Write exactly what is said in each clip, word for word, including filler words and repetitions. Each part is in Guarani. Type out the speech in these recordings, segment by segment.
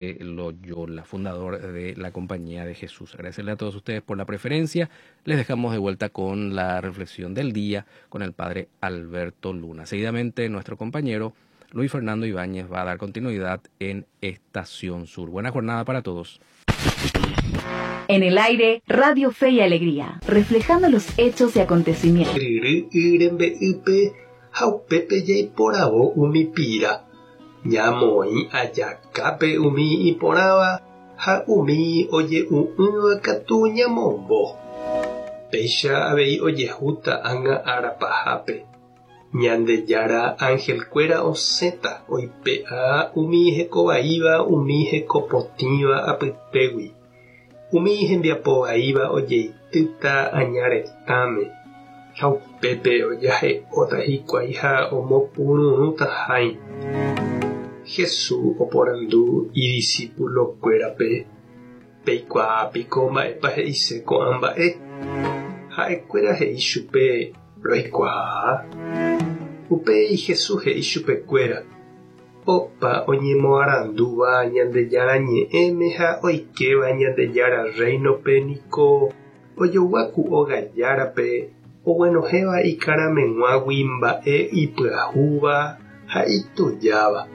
Loyola, fundador de la Compañía de Jesús. Agradecerle a todos ustedes por la preferencia. Les dejamos de vuelta con la reflexión del día con el padre Alberto Luna. Seguidamente, nuestro compañero Luis Fernando Ibáñez va a dar continuidad en Estación Sur. Buena jornada para todos. En el aire, Radio Fe y Alegría, reflejando los hechos y acontecimientos. Ha upépe jaiporavo umi pira. Ñamoĩ ajakápe umi iporãva ha umi oje'u'ỹva katu ñamombo. Péicha avei ojehúta ág̃a ára pahápe. Ñandejára angelkuéra osẽta oipe'a umi hekovaíva umi hekopotĩva apytégui. Umi hembiapovaíva ojeitýta aña retãme ha upépe ojahe'óta hikuái ha omopururũta hãi. Jesús oporandu idiscipulokuérape peikuaápiko mba'épa he'ise ko'ã mba'e. Ha'ekuéra he'i chupe roikuaa. Upéi Jesús he'i chupekuéra opa oñemoarandúva Ñandejára ñe'ẽme ha oikéva Ñandejára reino-pe niko ojoguáku ogajárape oguenohẽva ikarameg̃uágui mba'e ipyahúva ha itujáva.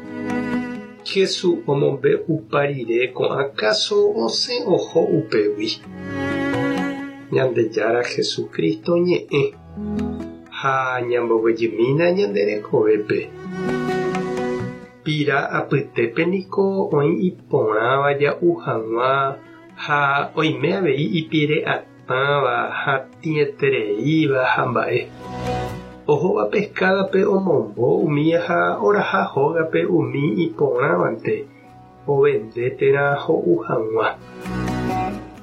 Jesús omombe'upa rire ko'ã káso osẽ oho upégui. Ñandejára Jesucristo ñe'ẽ ha ñamboguejymína ñande rekovépe. Pira apytépe niko oĩ iporãva ja'u hag̃ua ha oime avei ipire'atãva ha tĩetereíva ha mba'e. Ohóva pescádape omombo umi ha oraha hógape umi iporãvante ovende térã ho'u hag̃ua.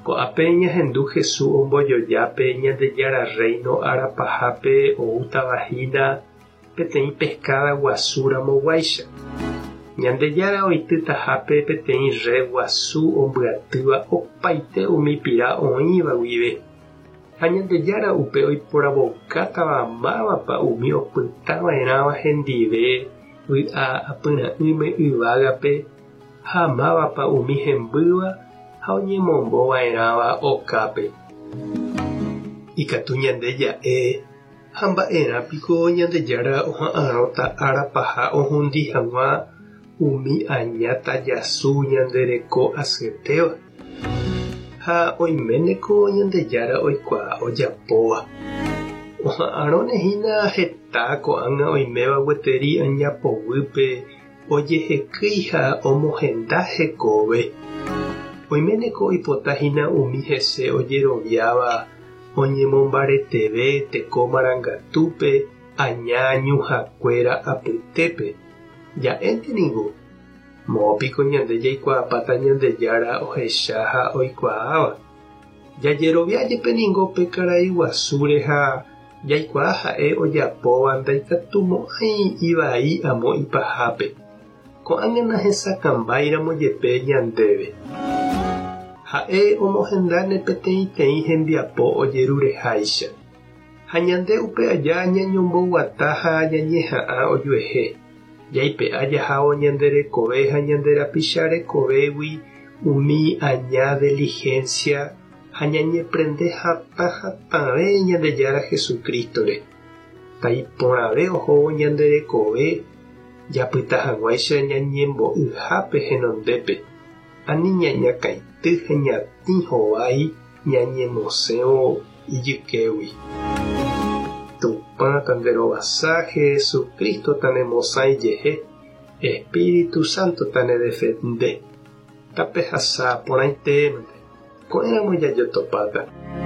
Ko'ápe ñahendu Jesús ombojojápe Ñandejára reino ára pahápe oútava hína peteĩ pescada guasu ramoguáicha. Ñandejára oitýtahápe peteĩ red guasu ombyatýva opaite umi pira oĩva guive. Ha Ñandejára upe oiporavokátava mávapa umi opytava'erãva hendive vy'a apyra'ỹme yvágape ha mávapa umi hembýva ha oñemombova'erãva okápe. Ikatu ñande ja'e ha mba'erãpiko Ñandejára oha'ãrõta ára paha ohundi hag̃ua umi aña tajasu ñande reko asyetéva. Ha oiméneko Ñandejára oikuaa ojapóva. Oha'ãrõnehína heta ko'ág̃a oiméva gueteri añapoguýpe ojehekýi ha omohenda hekove. Oiméneko oipotahína umi hese ojeroviáva oñemombareteve teko marangatúpe aña ñuhãkuéra apytépe. Ja'énte niko moõpiko ñande jaikuaapáta Ñandejára ohecha ha oikuaáva. Jajerovia jepe niko pe karai guasúre ha jaikuaa ha'e ojapóva ndaikatumo'ãi ivai amo ipahápe. Ko'ág̃a nahesakãmbáiramo jepe ñandéve. Ha'e omohendáne peteĩteĩ hembiapo ojerureháicha. Ha ñande upe aja ñañomboguata ha ñañeha'ã ojuehe. Jaipe'a jahávo ñande rekove ha ñande rapicha rekovégui umi aña diligencia ha ñañeprende hatã hatãve Ñandejára Jesucristo-re. Taiporãve ohóvo ñande rekove japyta hag̃uáicha ñañembo'yhápe henondépe. Ani ñañakãity ha ñatĩ hovái ñañemosẽvo ijykégui. Tupã tanderovasa Jesucristo tanemosã ijehe Espíritu Santo tanedefende. Tapehasa porãitémante. Ko'ẽramo jajotopáta.